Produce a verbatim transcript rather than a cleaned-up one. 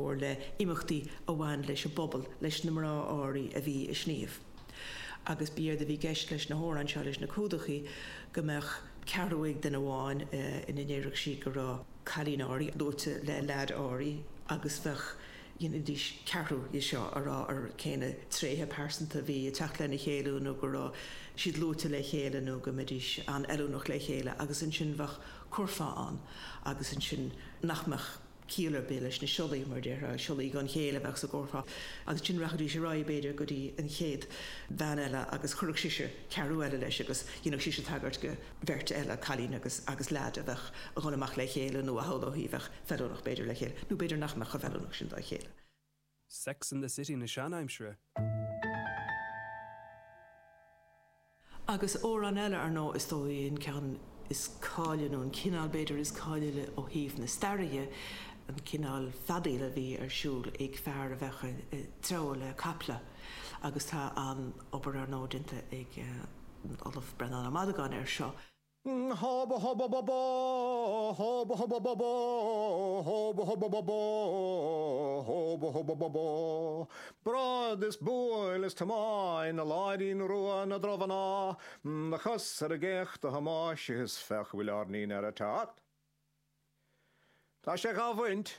mhór le imeachtaí a bhain leis an bpobal, leis na mná áirithe a bhí ag sníomh. Agus b'éard a bhí i gceist leis na hamhráin seo, leis na cumhdachaí, go mbeadh ceathrú ag duine amháin ina ndéarfadh sí go raibh cailín áirithe luaite le leaid áirithe agus bheadh, dhéanfaidís ceathrú dhe seo a rá ar cé na tréithe pearsanta a bhí ag teacht lena chéile nó go raibh siad luaite le chéile nó go mbeidís an-fheiliúnach le chéile agus ansin bheadh curfá ann agus ansin nach mbeadh ciall ar bith leis na siollaí mar déarfá, siollaí gan chéill a bheadh sa gcurfá agus ansin rachaidís ar aghaidh b'fhéidir go dtí an chéad bhean eile agus chuirfeadh sise ceathrú eile leis agus dhéanfadh sise tagairt go bheirt eile, cailín agus agus leaid a bheadh a dhul amach le chéile nó a shamhlófaí a bheadh feiliúnach b'fhéidir le chéile nó b'fhéidir nach mbeadh chomh feiliúnach sin dá chéile. Sex and the City na seanaimsire. Agus amhrán eile, ar ndóigh, is dóigh an ceann is cáile, nó an cineál b'fhéidir is cáile ó thaobh na staire dhe, an cineál feadaíl a bhí ar siúl ag fear a bheadh ag treabhadh le caiple. Agus tá an-obair, ar ndóigh, déanta ag an Ollamh Breandán Ó Madagáin air seo. Hoba hoba ba bó, hoba hoba ba bó, hoba hoba ba bó, hoba hoba ba bó. Bród is buail is tiomáin a láirín rua na dromhná, Do chos ar an gcéacht a Thomáis is féach an bhfuil ár ndinnéar ag teacht. Tá sé dhá bhaint.